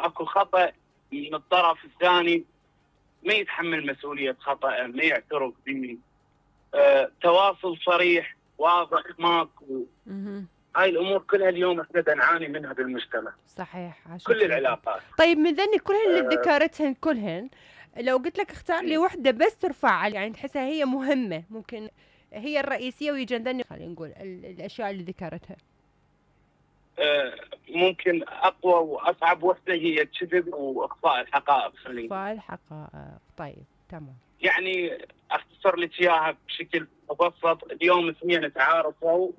يصير اكو خطأ من الطرف الثاني ما يتحمل مسؤولية خطأ، ما يعترف به، تواصل صريح واضح ماكو. هاي الامور كلها اليوم احنا نعاني منها بالمجتمع. صحيح. كل العلاقات. طيب من ذني كلهن اللي ذكرتهن كلهن، لو قلت لك اختار لي وحده بس ترفع يعني تحسها هي مهمه، ممكن هي الرئيسيه ويجي ذني خلينا نقول الاشياء اللي ذكرتها. ممكن اقوى واصعب وحده هي الكذب واخفاء الحقائق. اخفاء الحقائق. طيب تمام. يعني اختصر لك اياها بشكل مبسط. اليوم اثنين تعارفوا،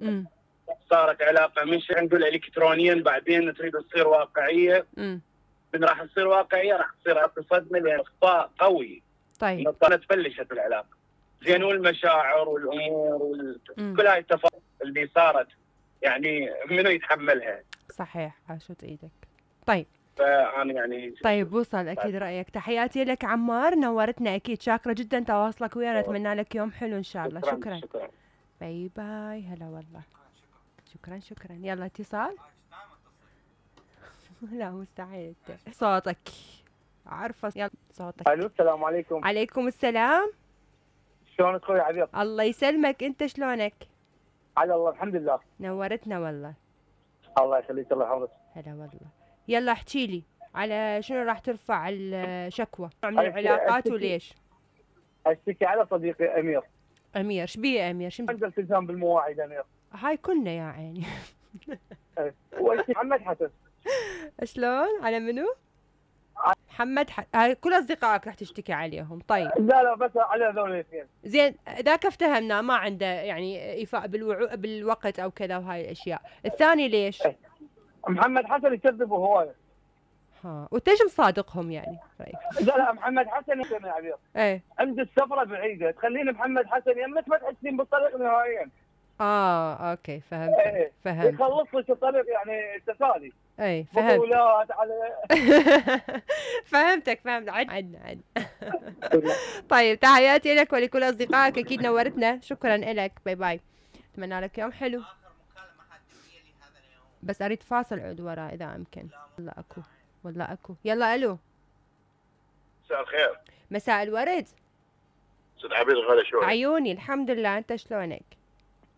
صارت علاقه مش نقول الكترونيا، بعدين تريد تصير واقعيه. من راح تصير واقعيه راح تصير اكو صدمه لان اخفاء قوي. طيب تبلشت العلاقه زين، والمشاعر والامور كل هاي التفاصيل اللي صارت يعني منو يتحملها؟ صحيح. عاشت ايدك. طيب فانا يعني طيب وصل اكيد رايك. تحياتي لك عمار، نورتنا اكيد. شاكره جدا تواصلك ويانا، اتمنى لك يوم حلو ان شاء الله. شكرا. باي باي. هلا والله. شكرا. يلا اتصال. لا مستحيل صوتك عارفه. يلا صوتك. الو السلام عليكم. عليكم السلام. شلونك اخوي عبير؟ الله يسلمك، انت شلونك؟ على الله الحمد لله. نورتنا والله. الله يخليك الله يحفظك. هلا والله. يلا احكي لي على شنو راح ترفع الشكوى من العلاقات وليش؟ اشتكي على صديقي امير. امير شبيه؟ امير شنو عنده التزام بالمواعيد امير. هاي كلنا يا عيني. محمد حسن. شلون؟ على منو؟ محمد هاي كل اصدقائك راح تشتكي عليهم. طيب لا بس على هذول الاثنين. زين ذاك افتهمنا ما عنده يعني ايفاء بالوقت او كذا وهاي الاشياء. الثاني ليش؟ محمد حسن يكذب هوايه. وانت ايش مصادقهم يعني؟ لا محمد حسن يا عبير. ايه عند السفره بعيده تخليني محمد حسن يمك ما تحسين بالطريق نهائيا. اوكي فهمت. فهمت. يخلص لك الطريق يعني تسالي. اي فهمت. بطولات على فهمتك. عد. طيب تحياتي لك ولكل اصدقائك، اكيد نورتنا. شكرا لك. باي باي. اتمنى لك يوم حلو. بس اريد فاصل عود ورا اذا امكن. والله اكو. يلا الو. مساء الخير. مساء الورد. استاذ عبيد الغالي شلونك؟ عيوني الحمد لله، انت شلونك؟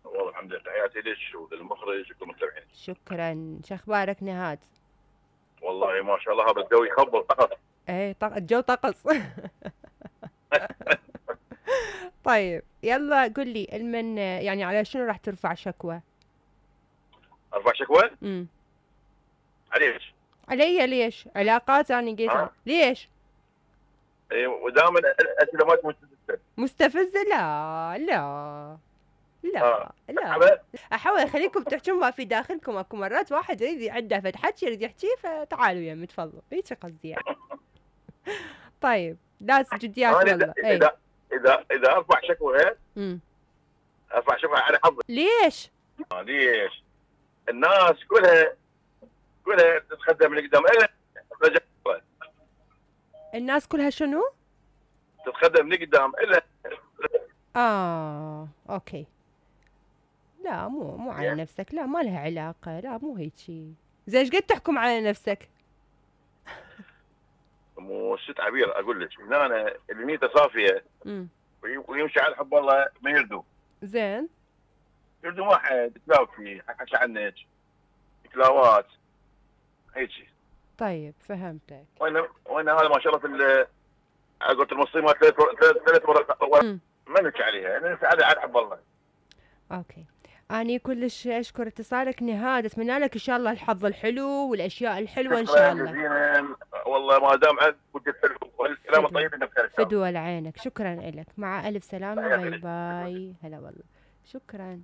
والله الحمد لله. تحياتي لك وللمخرج والمستمعين. شكرا. شو اخبارك نهاد؟ والله ما شاء الله هذا الجو يخبل طقس. ايه الجو طقس. طيب يلا قل لي المن يعني على شنو راح ترفع شكوى؟ ارفع شكوى؟ عليش؟ علي ليش؟ علاقات انا قلت ليش؟ اي ودائما الاسئله مالتك مستفزه. لا احاول اخليكم تحجون ما في داخلكم. اكو مرات واحد يريد عنده فد حكي يريد يحكيه فتعالوا يمي تفضلوا. هيك قصدي يعني. طيب لازم جديات والله. اذا ارفع شكوى ارفع شكوى على حظي. ليش؟ ليش؟ الناس كلها تتخدم من قدام الا الناس كلها شنو؟ تتخدم من قدام الا اوكي. لا مو على نفسك. لا ما لها علاقة. لا مو هيك شيء. زين ايش قد تحكم على نفسك؟ مو ست عبير اقول لك من انا اللي نيته صافيه ويمشي على حب الله ما يردوا. زين يردوا واحد يتلاوى فيه حكى عنك تلاوات هيك. طيب فهمتك. وانا هذا ما شاء الله قلت المصيمه ثلاث مرات ما نحكي عليها يعني على حب الله. اوكي. أنا كلش أشكر اتصالك نهاد. أتمنى لك إن شاء الله الحظ الحلو والأشياء الحلوة إن شاء الله. والله ما دام عندك والكلام الطيب إنك فدوى لعينك. شكرا لك. مع ألف سلامة. باي باي. هلا والله. شكرا.